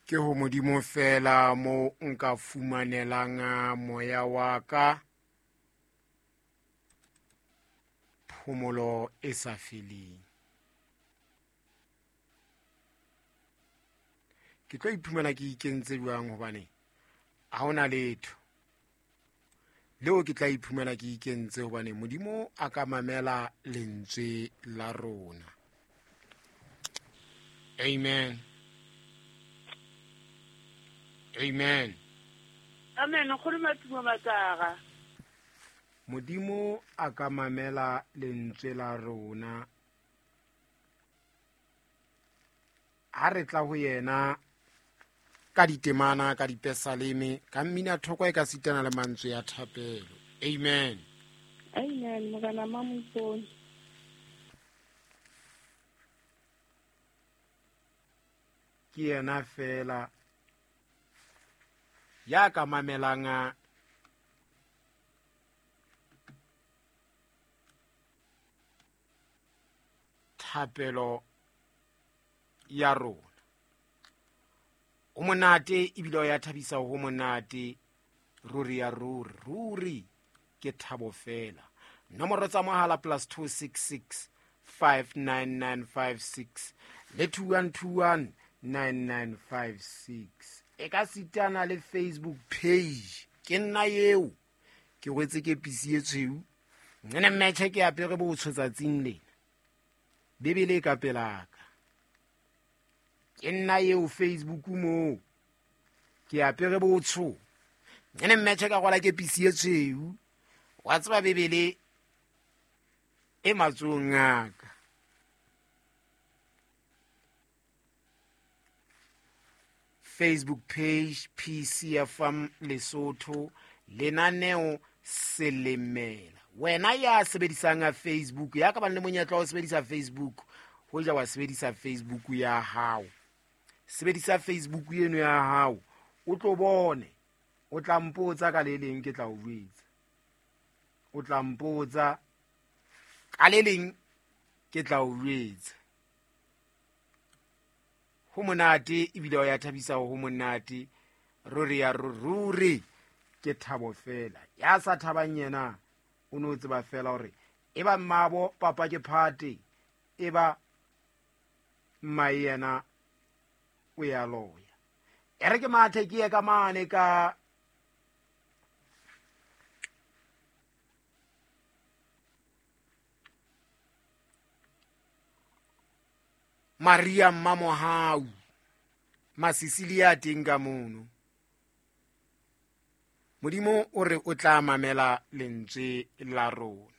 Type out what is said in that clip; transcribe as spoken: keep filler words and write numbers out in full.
Ke ho Modimo fela mo nka fumanelang moya wa ka phomolo e sa feleng. Ke tlo iphumana ke ikentse jwang hobane ha hona letho leo ke tla iphumana ke ikentse hobane Modimo a ka mamela lentswe la rona. Amen. Amen. Amen. Nkgono Matumo Matsara. Modimo a ka mamela lentswe la rona. Ha re tla ho yena ka ditemana, ka dipesaleme, ka mmina thoko e ka sitana le mantswe ya thapelo. Amen. Amen. Morena Mamopone. Ke yena fela ya ka mamelang thapelo ya rona. O monate ebile o ya thabisa ho monate ruri ya ruri ruri ke thabo fela. Nomoro tsa mohala plus two six six five nine nine five six le two one two one nine nine five six. E ka sitana le Facebook page. Ke nna eo ke rwetse ke pisi e tshweu. Nne mmetjhe ke apere botsho tsatsing lena. Bibele e ka pelaka. Ke nna eo Facebook mo. Ke apere botsho. Nne mmetjhe ka rwala ke pisi e tshweu. Wa tseba Bibele e matsohong a ka. Facebook page P C F M Lesotho lenaneo Selemela. Wena ya sebedisang Facebook, ya ka bang le monyetla wa ho sebedisa Facebook, hoja wa sebedisa Facebook ya hao. Sebedisa Facebook eno ya hao, o tlo bone, o tla mpotsa ka le leng ke tla o jwetsa. O tla mpotsa ka le leng ke tla o jwetsa. Ho monate ebile o ya thabisa ho monate ruri ya ruri ke thabo fela. Ya sa thabang yena o no tseba fela hore e ba mmabo papa ke phate, e ba mma yena o ya loya. E re ke mathe ke ye ka mane ka Maria Mmamohau Masisilia teng ka mono. Modimo o re o tla mamela lentswe la rona.